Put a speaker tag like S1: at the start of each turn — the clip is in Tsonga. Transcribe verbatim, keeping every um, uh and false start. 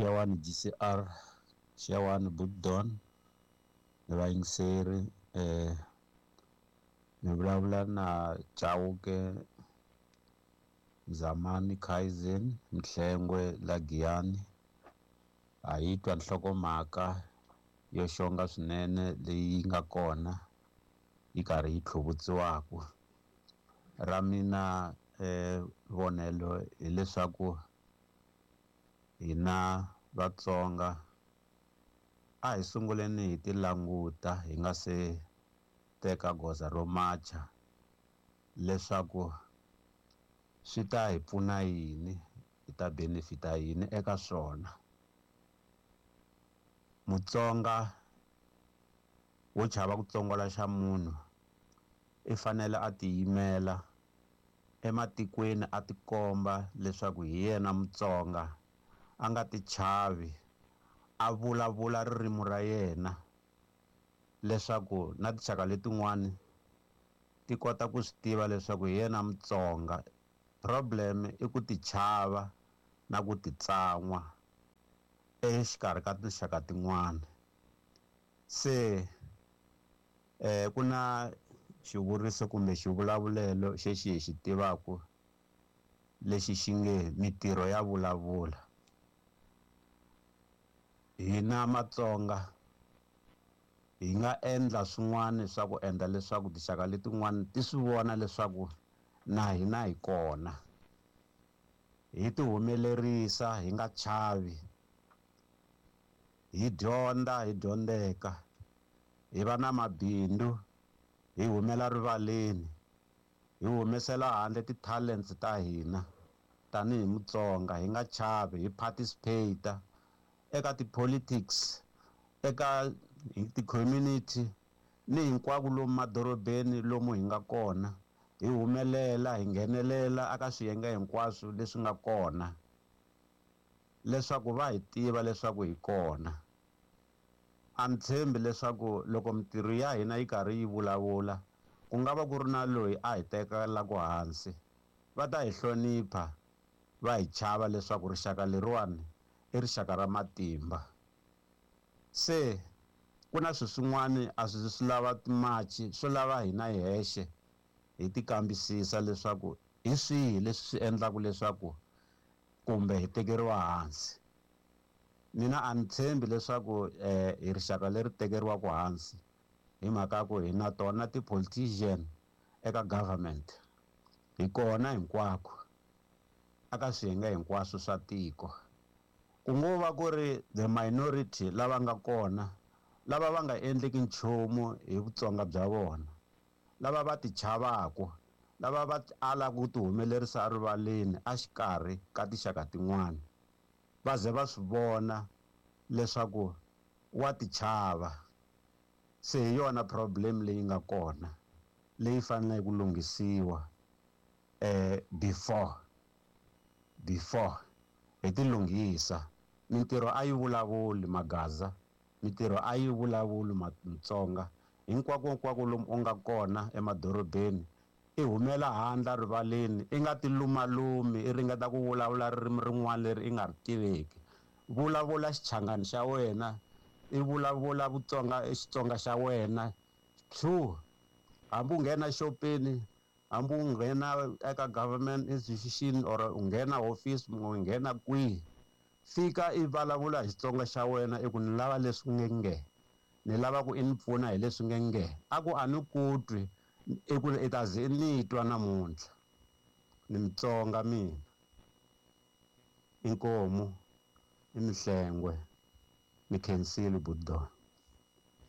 S1: Xewani G C R, xewani Buddon, ni vayingiseri, eh ni vulavula na Chauke Zamani Kaizen Mhlengwe la Giyani. A yi twa nhlokomhaka yo xonga swinene leyi nga kona yi karhi yi tlhuvutsiwaka. Ra mina eh vonelo hileswaku hina Vatsonga a hi sunguleni hi ti languta hi nga se teka goza ro macha leswaku swi ta hi pfuna yini, hi ta benefita yini eka swona. Mutsonga wo chava ku tsongola xa munhu i fanele a tiyimela ematikweni a tikomba leswaku hi yena Mutsonga, a nga ti chavi, a vulavula ririmi ra yena leswaku na tinxaka letin'wani ti kota ku swi tiva leswaku hi yena Mutsonga. Problem i ku ti chava na ku ti tsan'wa exikarhi ka tinxaka tin'wana. Se eh ku na xivuriso kumbe xivulavulelo xexi hi xi tivaka lexi xi nge mitirho ya vulavula. Hina Matsonga hi nga endla swin'wana swa ku endla leswaku tinxaka letin'wana ti swi vona leswaku na hina hi kona, hi ti humelerisa hi nga chavi, hi dyondza hi dyondzeka, hi va na mabindzu, hi humela rivaleni, hi humesela handle ti-talents ta hina tanihi Mutsonga, hi nga chavi, hi participate eka ti-politics, eka ti-community ni hinkwako lomu madorobeni lomu hi nga kona, hi humelela, hi nghenelela eka swiyenge hinkwaswo leswi nga kona leswaku va hi tiva leswaku hi kona. A ni tshembi leswaku loko mitirho ya hina yi karhi yi vulavula ku nga va ku ri na loyi a hi tekelaka hansi, va ta hi hlonipha, va hi chava leswaku rixaka leriwani i rixaka ra matimba. Se ku na swilo swin'wana a swi swi lava timachi, swo lava hina hi hexe hi ti kambisisa leswaku hi swihi leswi swi endlaka leswaku kumbe hi tekeriwa hansi. Mina a ni tshembi leswaku eh hi rixaka leri tekeriwaka hansi hi mhaka ya ku hi na tona ti-politician eka government, hi kona hinkwako aka swiyenge hinkwaswo swa tiko. Ku ngo va ku ri the minority lava nga kona lava va nga endleki nchumu hi Vutsonga bya vona, lava va ti chavaka, lava va alaka ku ti humelerisa erivaleni exikarhi ka tinxaka tin'wana, va ze va swi vona leswaku wa ti chava. Se hi yona problem leyi nga kona leyi faneleke ku lunghisiwa eh before before hi ti lunghisa. Mintirho a yi vulavuli Magaza, mintirho a yi vulavuli Mutsonga. Hinkwako hinkwako lomu u nga kona emadorobeni, i humela handle rivaleni, i nga ti lumalumi, i ringeta ku vulavula ririmi rin'wana leri i nga ri tiveki. Vulavula Xichangani xa wena, i vulavula Vutsonga, Xitsonga xa wena. True, hambi u nghena xopeni, hambi u nghena eka government institution or u nghena office, u nghena kwihi, fika i vulavula hi Xitsonga xa wena, i ku ni lava leswi nge nge, ni lava ku i ni pfuna hi leswi nge nge. A ku a ni ku twi, i ku i ta ze ni twa namuntlha. Ni Mutsonga mina, inkomu, i Mhlengwe, ni khensile Buddon.